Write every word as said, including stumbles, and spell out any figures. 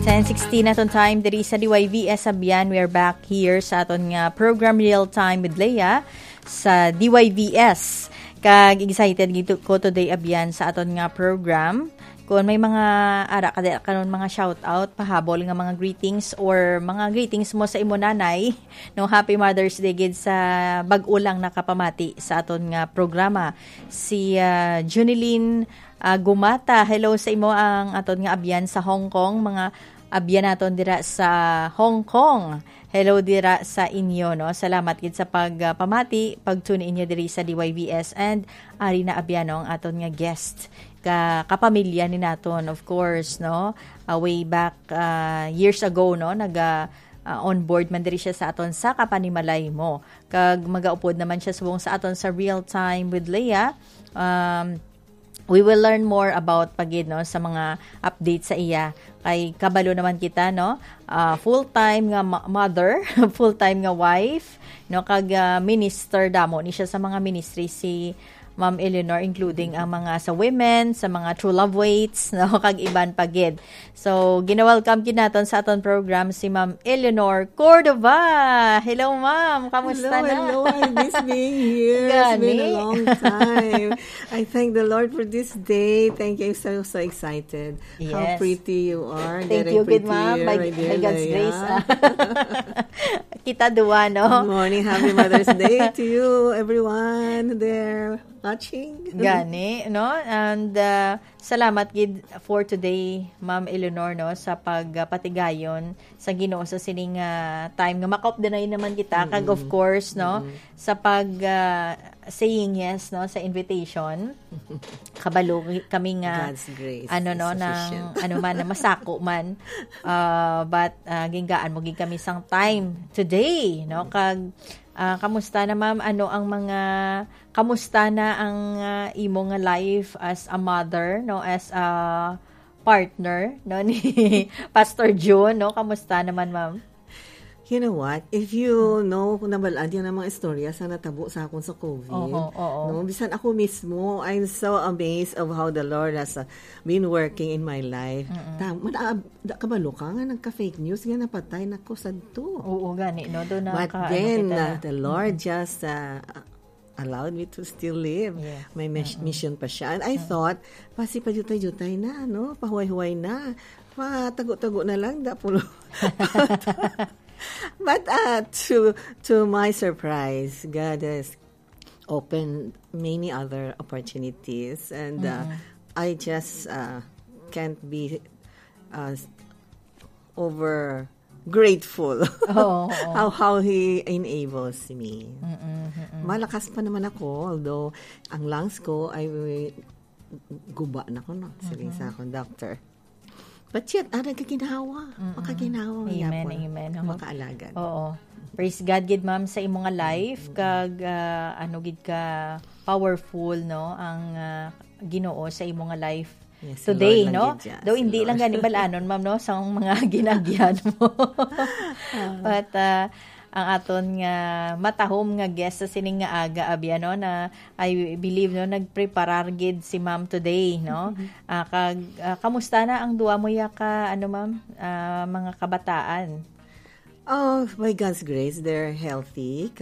Ten sixteen aton time diri sa D Y V S Abyan. We are back here sa aton nga program Real Time with Leah sa D Y V S. Kag excited gid ko today, Abyan, sa aton nga program. Kung may mga ara ka di-, karon mga shout out, pahabol nga mga greetings or mga greetings mo sa imo nanay, no, happy Mother's Day gid sa bag-o lang nakapamati sa aton nga programa. Si, ah, Junilin, ah, Gumata, hello sa imo ang aton nga abyan sa Hong Kong, mga abyan naton dira sa Hong Kong. Hello dira sa inyo, no? Salamat gid sa pag, ah, pamati, pag tune in nyo diri sa D Y V S and ari na abyan, no, ang aton nga guest. Ka, kapamilya ni naton, of course, no? Ah, way back, ah, years ago, no? Naga, ah, on board man diri siya sa aton sa kapanimalay mo. Kag magaupod naman siya subong sa aton sa Real Time with Leah. Um, we will learn more about pa gid, no, sa mga update sa iya. Kay kabalo naman kita, no, ah, full-time nga ma-, mother, full-time nga wife, no, kag, ah, minister damo ni siya sa mga ministry si Ma'am Eleanor, including ang mga sa women, sa mga True Love Waits, no, kag iban pa gid. So, gina-welcome gid naton sa aton program si Ma'am Eleanor Cordova. Hello, ma'am. Kamusta Hello, na? hello. I miss being here. It's been a Gani. long time. I thank the Lord for this day. Thank you. I'm so, so excited. How Yes. pretty you are. Thank Very you, good ma'am. pretty, By, my by dear God's Leia. grace, ah. Kita duwa, no? Good morning. Happy Mother's Day to you, everyone there watching. Gani, no? And, uh, salamat gid for today, Ma'am Eleanor, no, sa pagpatigayon sa Ginoo sa sining, uh, time nga makaupdanay naman kita. Kag, of Mm-mm. course, no, Mm-mm. sa pag, uh, saying yes, no, sa invitation. Kabalo kami nga, God's grace ano, is no, sufficient. nang, ano man, na masako man. Uh, but, uh, ginggaan mo gid kami sang time today, no? Kag, uh, kamusta na, ma'am? Ano ang mga, kamusta na ang, uh, imo nga life as a mother, no? As a partner, no? Ni Pastor June, no? Kamusta naman, ma'am? You know what? If you know, kung nabalaan yun ang mga istorya sa natabo sa akon sa COVID, Oho, oo. no? Bisan ako mismo, I'm so amazed of how the Lord has, uh, been working in my life. Mm-mm. Tam-, man-, ah, da-, kabalo ka nga nagka-fake news nga napatay na ko sadto. Oo, gani, no? Doon But naka-, ano then, kita uh, na. the Lord Mm-mm. just, uh, allowed me to still live. Yes. May mis-, Mm-mm. mission pa siya. And I Mm. thought, pasi pa jutay-jutay na, no? Pahuway-huway na. Patago-tago na lang, da pulo. But, uh, to, to my surprise, God has opened many other opportunities. And, uh, Mm-mm. I just, uh, can't be, uh, over grateful Oo, oo. how, how He enables me. Mm-mm, mm-mm. Malakas pa naman ako, although ang lungs ko ay guba na ko, no? Siling sa Mm-hmm. akong doctor. But yet, ah, nagkaginhawa. Mm-mm. Makaginhawa Amen, yapon. amen. Oo. Makaalagad. Oo. Praise God, gid, ma'am, sa imo nga life. Mm-mm. Kag, ah, ano gid ka powerful, no? Ang, ah, Ginoo sa imo nga life Yes, today, Lord lang no? gid siya, Daw si hindi lang Lord. gani balanon, ma'am, no, sa mga ginagyan mo. Ah. But, ah, ang aton nga matahom nga guest sa sining nga aga, abi, ano, na I believe, no, nagpreparar gid si ma'am today, no? Mhm. Ah, kag, ah, kamusta na ang duwa mo ya ka, ano, ma'am, ah, mga kabataan? Oh, by God's grace, they're healthy.